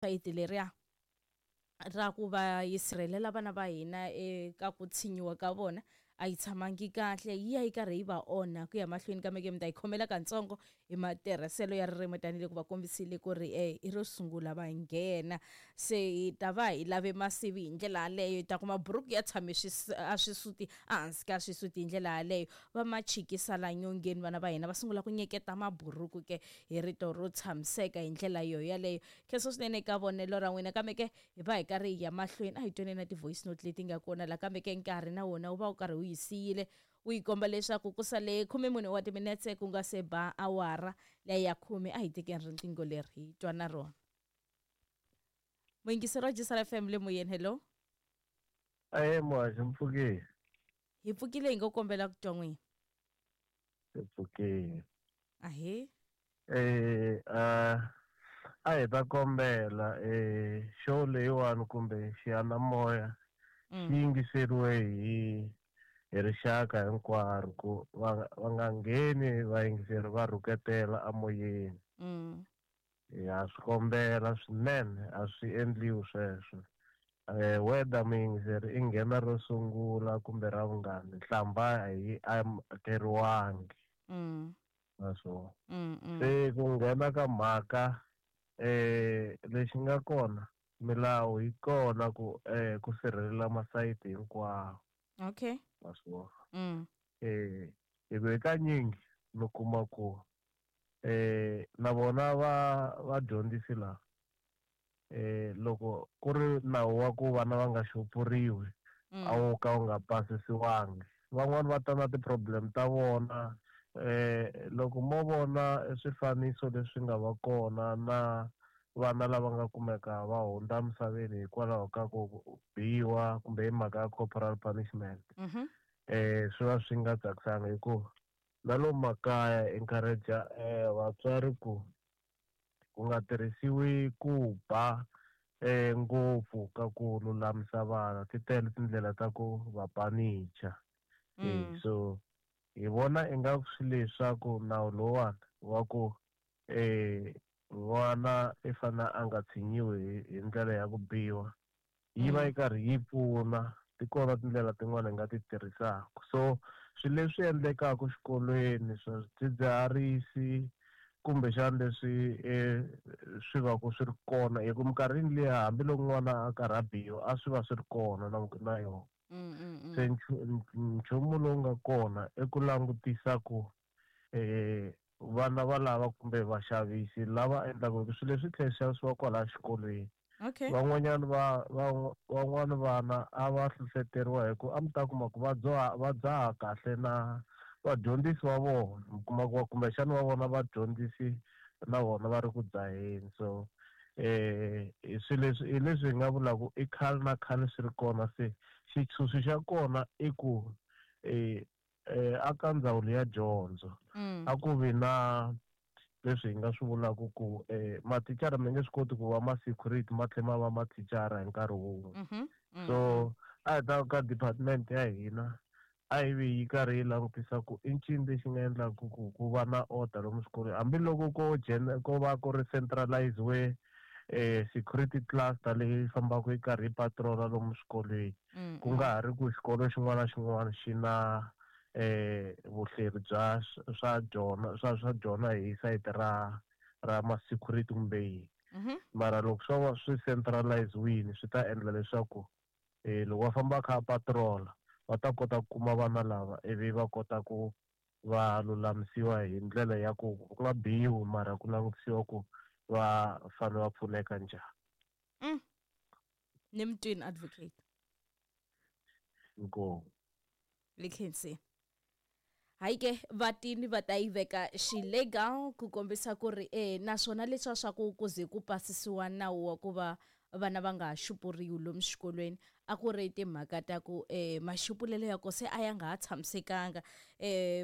Sayiti leriya ra ku va yi sirhelela vana va hina eka ku tshinyiwa ka vona a yi tshamangi kahle, yi ya yi karhi yi va onha ku ya mahlweni. Kambe ke mi ta yi khomela katsongo hi matirhiselo ya ririmi tanihiloko va kombisile ku ri i ro sungula va nghena, se hi ta va hi lave masivi hi ndlela yaleyo. Hi ta kuma buruku ya tshame a swisuti ehansi ka swisuti hi ndlela yaleyo, va ma chikisa la nyongeni, vana va hina va sungula ku nyeketa maburuku ke hi rito ro tshamiseka hi ndlela yo yaleyo. Khensa swinene eka vonelo ra n'wina, kambe ke hi va hi karhi hi ya mahlweni, a hi tweni na ti-voice note leti nga kona la, kambe ke nkarhi na wona wu va wu karhi wu yi siyile, wu yi komba leswaku ku sale 14 wa timinetse ku nga se ba awara leya ya 10. A hi tekeni riqingho leri hi twa na rona. Muyingiseri wa Jisara FM le moyeni, hello. Ahe muhaxi, mi pfukile? Hi pfukile, hi ngo kombela ku twa n'wina. Hi pfukile. Ahee. A hi ta kombela show leyiwani kumbe xiyanimoya xi yingiseriwe hi rixaka hinkwaro, ku va nga ngheni vayingiseri va rhuketela amoyeni. Ha swi kombela swinene, a swi endliwi sweswo. Whether muyingiseri i nghena ro sungula kumbe ra vungani, nhlamba a yi amukeriwangi. Naswona se ku nghena ka mhaka lexi nga kona, milawu yi kona ku sirhelela masayiti hinkwawo. Naswona hi ku hakanyingi mi kuma ku na vona va vadyondzisi lava loko ku ri nawu wa ku vana va nga xupuriwi a wu ka wu nga pasisiwangi, van'wani va ta na ti-problem ta vona. Loko mo vona swifaniso leswi nga va kona na vana lava nga kumeka va hundza emisaveni hikwalaho ka ku biwa kumbe hi mhaka ya corporal punishment, swi va swi nga tsakisanga, hikuva na lomu makaya encourage vatswari ku ku nga tirhisiwi ku ba ngopfu ka ku lulamisa vana. Ti tele tindlela ta ku va panicha. So hi vona ingaku swi leswaku nawu lowuwani wa ku n'wana i fanele a nga tshinyiwi hi ndlela ya ku biwa yi va yi karhi yi pfuna. Ti kona tindlela tin'wani hi nga ti tirhisaka. So swilo leswi endlekaka xikolweni swa swidzidziharisi kumbexana leswi swi va ku swi ri kona, hi ku minkarhini liya hambiloko n'wana a karhi a biwa a swi va swi ri kona na yona. Se nchumu lowu nga kona i ku langutisa ku vana va lava kumbe vaxavisi lava endlaka hi swilo leswi tlhela swi xavisiwa kwalaya xikolweni. Van'wanyana va van'wani vana a va hlohloteriwa hi ku a mi ta kuma ku va dzaha, va dzaha kahle na vadyondzisi va vona, mi kuma ku kumbexana va vona vadyondzisi na vona va ri ku dzaheni. So hi swilo leswi hi leswi hi nga vulaka i khale na khale swi ri kona. Se xitshunxo xa kona i ku a ka ndzawulo ya dyondzo a ku vi na leswi hi nga swi vulaka ku mathicara mi nge swi koti ku va ma-security ma tlhela ma va mathicara hi nkarhi wun'we. So a hi ta ka department ya hina a yi vi yi karhi yi langutisa ku i ncini lexi nga endlaka ku ku va na order lomu swikolweni, hambiloko ko ko va ku ri centralize security cluster leyi fambaka yi karhi yi patrola lomu swikolweni, ku nga ha ri ku xikolo xin'wana na xin'wana xi na vuhleri bya swa dyona swa dyona hi sayiti ra ma-security kumbe yini. Mara loko swo va swi centralize-wini swi ta endla leswaku loko va famba va kha va patrola va ta kota ku kuma vana lava ivi va kota ku va lulamisiwa hi ndlela ya ku ku nga biwi, mara ku langutisiwa ku va fanele va pfuneka njhani. Ni mi twini advocate. Inkomu. Le khensini. Hayi ke vatini va ta yi veka xilegal ku kombisa ku ri naswona leswiya swa ku ku ze ku pasisiwa nawu wa ku va vana va nga ha xupuriwi lomu xikolweni a ku ri timhaka ta ku maxupulelo ya ko se a ya nga ha tshamisekanga.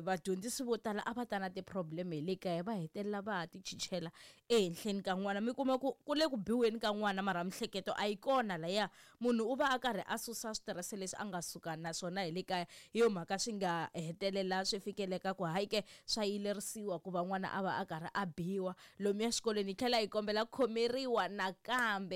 Vadyondzisi vo tala a va ta na ti-problem hi le kaya, va hetelela va ha ti chichela ehenhleni ka n'wana. Mi kuma ku ku le ku biweni ka n'wana mara mihleketo a yi kona laya, munhu u va a karhi a susa switirese leswi a nga suka na swona hi le kaya. Hi yo mhaka swi nga hetelela swi fikeleka ku hayi ke swa yilerisiwa ku va n'wana a va a karhi a biwa lomuya xikolweni. Hi tlhela hi kombela ku khomeriwa nakambe.